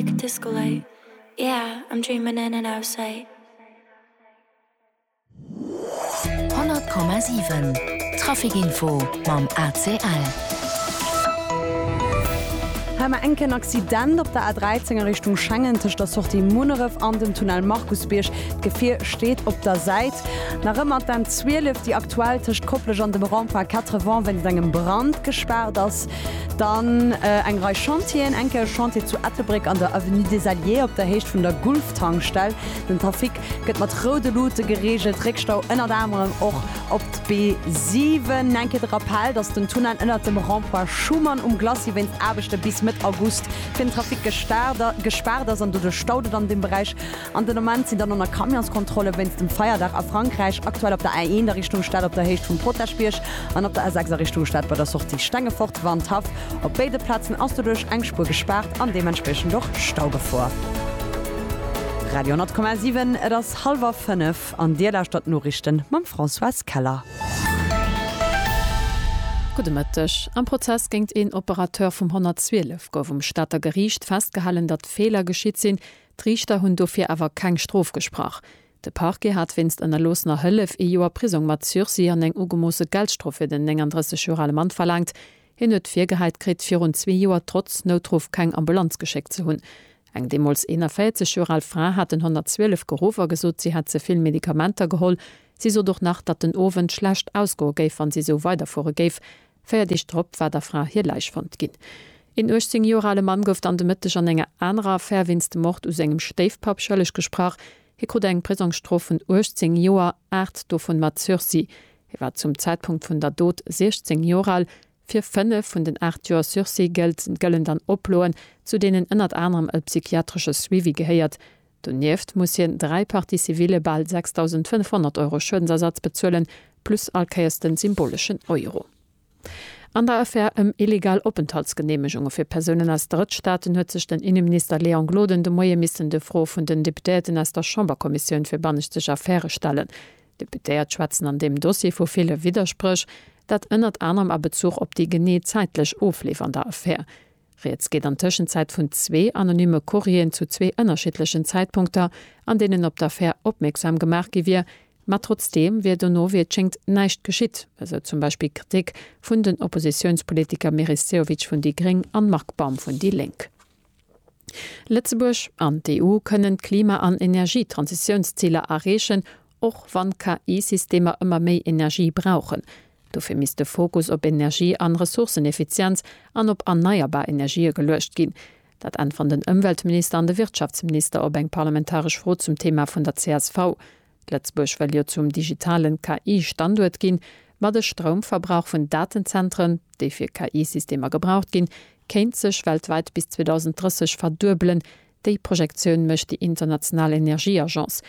Disco light, yeah, I'm dreaming in and out of sight. 100,7 Trafic Info mam ACL. Hei mar enken Accident op der A13 a Richtung Schengen tëscht der Sortie Munneref an dem Tunnel Markusbierg. D'Gefier steet op der Säit. Nach ëmmer d'N12, déi aktuell tëscht Koplescht an dem Rond-point 80 wéinst engem Brand gespaart ass. Dann eng Rei Chantieren, eng Kéier e Chantier zu Ettelbréck an der Avenue des Alliés op der Héicht vun der Gulftankstell. Den Trafic gëtt mat roude Luute gereegelt, Réckstau ënnert anerem och op d'B7. Eng Kéier de Rappell, datt den Tunnel ënnert dem Rond-point Schuman um Glacis wéinst Aarbechte bis Mëtt August fir den Trafic gespaart ass an doduerch staut et an deem Beräich. An den Ament sinn dann och nach Camionskontrolle wéinst dem Feierdag a Frankräich aktuell op der A1 a Richtung Stad op der Héicht vum Potaschbierg an op der A6 a Richtung Stad bei der Sortie Stengefort, Wandhaff. Op béide Plazen ass doduerch eng Spuer gespaart an deementspriechend och Staugefor. Radio 10,7 Et ass hallwer 5 an Dir lauschtert d'Noriichten mam Françoise Keller. Gudde Mëtteg. Am Prozess géint een Operateur vum 112 gouf um Stater Geriicht festgehalen, datt Feeler geschitt sinn, D'Riichter hunn dofir awer keng Strof gesprach. De Parquet hat wéinst ënnerloossener Hëllef ee Joer Prisong mat Sursis an eng ugemoosse Geldstrof fir den 39 Joer ale Mann verlaangt. Hien huet virgehäit kritt, virun zwee Joer trotz Noutruff keng Ambulanz geschéckt ze hunn. Eng deemools 41 Joer al Fra hat den 112 geruff a gesot, si hätt ze vill Medikamenter geholl. Si sot och nach, datt den Owend schlecht ausgoe géif, wann si esou weiderfuere géif. 4 Deeg drop war der Fra hir Läich fonnt ginn. Een 18 Joer ale Mann gouf dann de Mëtteg an enger anerer Affär wéinst dem Mord u sengem Stéifpapp schëlleg gesprach. Hie krut eng Prisongsstrof vun 18 Joer, 8 dovun mat Sursis. Hie war zum Zäitpunkt vun der Dot 16 Joer al. Fir 5 vun den 8 Joer Sursis gëllen dann Oploen, zu deenen ënnert anerem e psychiatresche Suivi gehéiert. Donieft muss hien 3 Parties civilë bal 6.500 Euro Schuedensersatz bezuelen, plus all Kéiers den symboleschen Euro. An der Affär ëm illegal Openthaltsgeneemegunge fir Persounen aus Drëttstaaten huet sech den Inneminister Léon Gloden de Moie missen de Froe vun den Deputéierten aus der Chamberkommissioun fir banneschteg Affäre stellen. D'Deputéiert schwätzen an deem Dossier vu ville Widderspréch, dat ënnert anerem a Bezuch op déi genee zäitlech Ofleef an der Affär. Rieds geet an Tëschenzäit vun zwee anonyme Courrieren zu zwee ënnerschiddlechen Zäitpunkter, an deenen op d'Affär opmierksam gemaach gi wier. Ma trotzdeem wier dono, wéi et schéngt, näischt geschitt, esou zum Beispill d'Kritik vun den Oppositiounspolitiker Meris Sehovic vun déi Gréng an Marc Baum vun déi Lénk. Lëtzebuerg an d'EU kënnen d'Klima an Energietransitiounsziler erreechen, och wann KI-Systemer ëmmer méi Energie brauchen. Dofir misst de Fokus op Energie an Ressourceneffizienz an op erneierbar Energië geluecht ginn. Dat äntweren den Ëmweltminister an de Wirtschaftsminister op eng parlamentaresch Fro zum Thema vun der csv. Lëtzebuerg wëll jo zum digitalen KI-Standuert ginn, ma de Stroumverbrauch vun Datenzentren, déi fir KI-Systemer gebraucht ginn, kéint sech weltwäit bis 2030 verduebelen. Déi Projektioun mécht déi international Energieagence.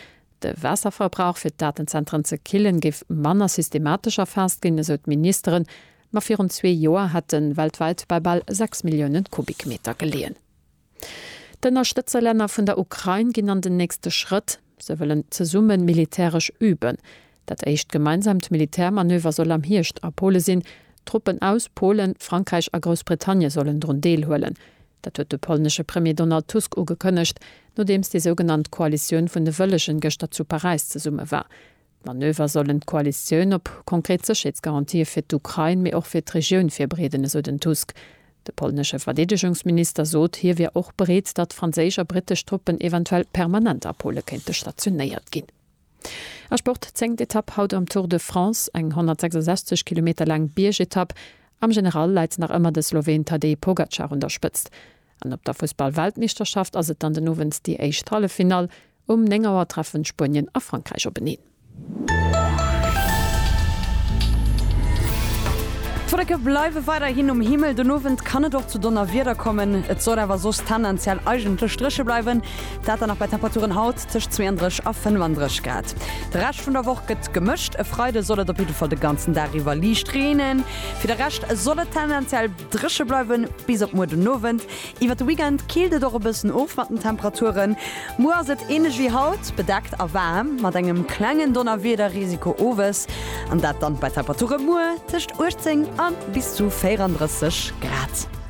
De Waasserverbrauch fir d'Datenzentren ze killen, géif manner systematesch erfaasst ginn, esou d'Ministeren. Ma virun zwee Joer hätt en weltwäit bei bal 6 Millioune Kubikmeter geleeën. D'Ënnerstëtzerlänner vun der Ukrain ginn an den nächste Schrëtt, Se wëllen zesumme militäresch üben. Dat éischt gemeinsaamt Militärmanöver soll am Hierscht a Pole sinn. Truppen aus Polen, Frankräich a Groussbritannie sollen drun deelhuelen. Dat huet de polnesche Premier Donald Tusk ugekënnegt, nodeems déi sougenannt Koalitioun vun de Wëllegen gëschter zu Paräis zesumme war. D'Manöver sollen d'Koalitioun op konkret Sécherheetsgarantië fir d'Ukrain, mee och fir d'Regioun virbereeden, esou den Tusk. De polnesche Verdeedegungsminister sot, hie wier och bereet, datt franséisch a brittesch Truppen eventuell permanent a Pole kéinte stationéiert ginn. A Sport, Zéngt Etapp haut am Tour de France, eng 166 Kilometer laang Biergetapp. Am General läit nach ëmmer de Sloween Tadej Pogacar un der Spëtzt. An op der Fussball-Weltmeeschterschaft ass et dann den Owend déi éischt Halleffinall. Um 9 Auer treffen Spuenien a Frankräich openeen. D'Wolleke bleiwe weiderhin um Himmel, den Owend kann et och zu Donnerwieder kommen. Et soll awer soss tendenziell eigentlech dréche bleiwen, dat dann nach bei Temperaturen haut tëscht 32 a 35 Grad. De Rescht vun der Woch gëtt gemëscht, e Freide soll et op jidde Fall de ganzen Dag iwwer liicht reenen, fir de Rescht soll et tendenziell dréche bleiwen bis op muer den Owend. Iwwer de Weekend killt et och e bëssen of mat den Temperaturen. Muer ass et änlech wéi haut, bedeckt a waarm, mat engem klengen Donnerwiederrisiko owes, an dat dann bei Temperature muer tëscht 18 a bis zu 34 Grad.